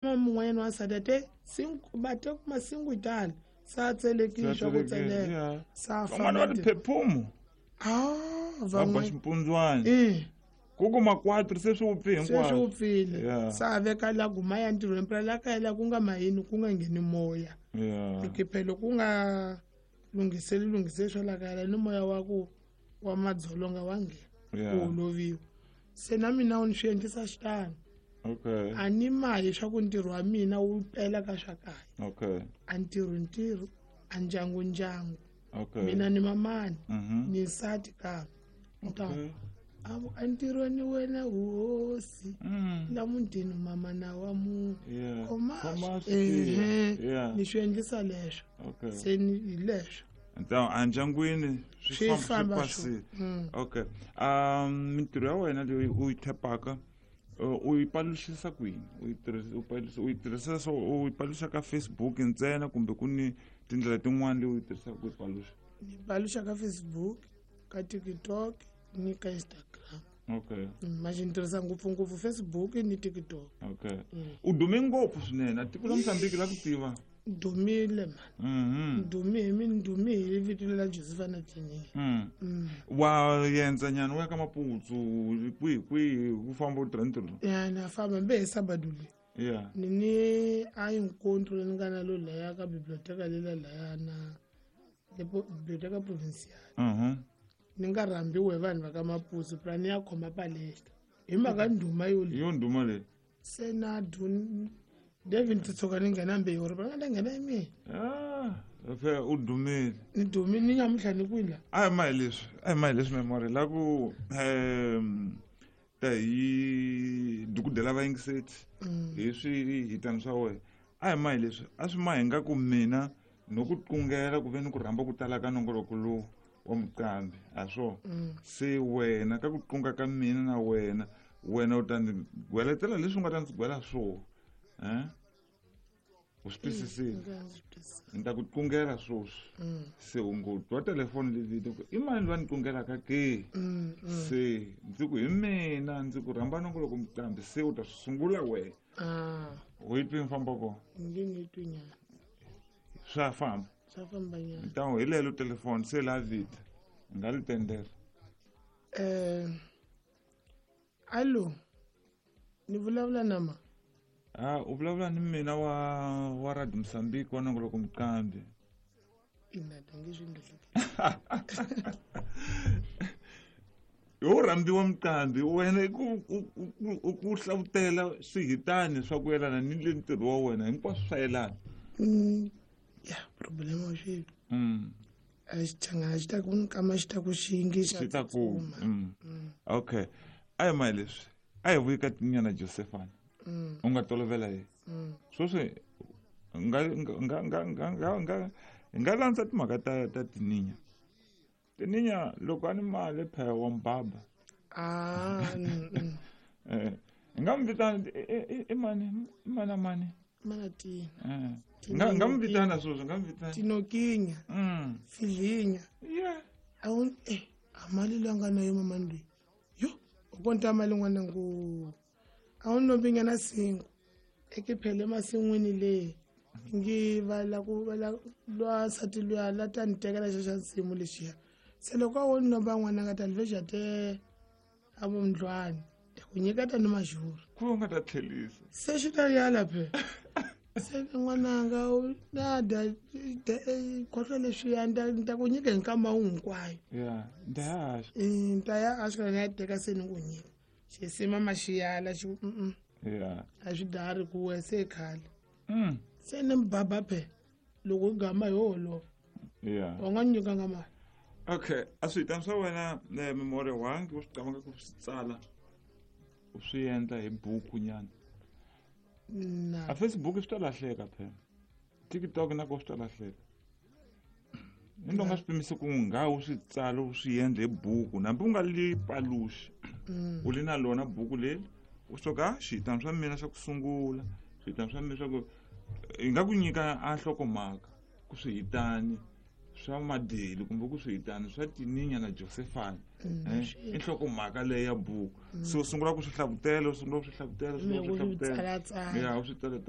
Mun'wanyana wa nsati te va te masingu tani sa tselekile swa ku tseleka sa van'wana va tiphephumu ah va ba ximpundzwana eh ku kuma 4 se swi wupfi hinkwaswo se swi wupfile sa veka la guma ya ntirhweni phela la kaya la ku nga mayini ku nga ngheni moya phela ku nga lunghiseli lunghiseli swa la kaya la ni moya wa ku wa madzolonga wa nghena ku holoviwa se na mina ni swi endlisa xitano. A ni mahi swa ku ntirho wa mina wu pela ka swa kaya. A ntirho ntirho, a ndyangu ndyangu. Mina ni mamani, ni nsati kambe. Entirhweni wena hosi la mutini mama na wa munhu. Ni swi endlisa leswo. Se ni hi leswo. Endyangwini swi famba pasile. Okay. Mintirho ya wena leyi u yi thepaka u yi paluxisa kwini? U yi tirhisa so u yi paluxa ka Facebook ntsena kumbe ku ni tindlela tin'wana leyi u yi tirhisaka ku yi paluxa? Ni paluxa ka Facebook, ka TikTok ni ka Instagram. Manje ni tirhisa ngopfungopfu Facebook ni TikTok. U dume ngopfu swinene, tiko la Mozambique la ku tiva. Dumile man. Dume hi mina, dume hi vito la Josephine Tininha. Wa yendza nyana u ya ka Maputsu kwihi kwihi ku famba u tirha ntirho? Ya na famba mbe hi sabado leyi. Ni ni a encontro leyi ni nga na lo laya ka biblioteca lela laya na le biblioteca provincial. Ni nga rhambiwe hi vanhu va ka Maputsu phela ni ya khoma palestra hi mhaka ndhuma yo leyi. Yo ndhuma leyi. Se na David ti tshuka ni nghena mbewu ri va nga ta nghena hi mina. Phela u dumile. Ni dumile ni nyamutlha ni kwini la. A hi ma hi leswi, a hi ma hi leswi memory la ku ta hi dukudela vayingiseti hi swihitani swa wena. A hi ma hi leswi, a swi ma hi nga ku mina no ku tlungela ku ve ni ku rhamba ku tala ka nongoloko lowu wa muqambi a swo. Se wena ka ku tlunga ka mina na wena, wena u ta ndzi gweletela leswi u nga ta ndzi gwela swona. U swi twisisile? Ni ta ku tlungela swoswi. Se u ngo twa telefoni leyi ku i mani loyi a ni tlungelaka ke? Se ndzi ku hi mina, ndzi ku rhamba nongoloko muqambi, se u ta swi sungula wena. U yi twi mfambo kona? Swa famba. Swa famba nyana. Ntawo hi lelo telefoni se la vita. Nga li tendela. Allo. Ni vulavula na ma? U vulavula ni mina wa Radio Mozambique wa nongoloko muqambi. Ina tangi swi ndzi. Yo rhambiwa muqambi wena ku hlavutela swihitani swa ku yelana ni le ntirho wa wena hinkwaswo swa yelana. Ya problema swi. A xi changana xi ta ku nkama xi ta ku xingi xi ta ku. Okay. A hi ma leswi. A hi vuyi ka tinyana Josephine. U nga tolovela yena. Sweswi nga nga nga nga nga nga nga landza timhaka ta tininya. Tininya loko a ni mali phela wa mbaba. Nga mi vitana i mani i mana mani. Mana tina. Nga mi vitana sweswi, nga mi vitana. Tinokinya. Filinya. Yeah. A wu a mali leyi nga na yo mama loyi. Yo, u konta mali n'wana ngo. A wu nombinyana singo. Ekiphele masin'wini leyi. Ngi va la ku va la lwa nsati luya la ta ni tekela xa xa nsimu lexiya. Se loko a wo ni lomba n'wana nga ta ni veja te a vumndlwani. Ku nyiketa ni majuru. Ku u nga ta tlhelisa. Se xi ta yala phe. Se n'wananga u na da khohlwa leswiya ni ta ku nyika hi nkama wu hinkwayo. Ya, ni ta ya haxa. Ni ta ya haxa ni ya teka se ni ku nyika. Xisima ma xi yala xi ku Ya. A swi dari ku we se khale. Se ni mbaba phe loko u gama hi holova. Ya. Wa nga nyikanga mali. Okay, a swihitani swa wena memory wangi u swi qamaka ku swi tsala u swi endla hi buku nyana. Na. A Facebook swi ta lahleka phela. TikTok na ko swi ta lahleka. Ni nga swi pimisi ku nga u swi tsala u swi endla hi buku nambi u nga li paluxi. U li na lona buku leri u soka xihitani swa mina swa ku sungula, swihitani swa mina swa ku hi nga ku nyika a nhlokomhaka ku swihitani swa Madeli kumbe ku swihitani swa Tininya na Josephine. I nhlokomhaka leyi ya buku. Se u sungula ku swi hlavutela, u sungula ku swi hlavutela, u sungula ku swi hlavutela, ya u swi tsala.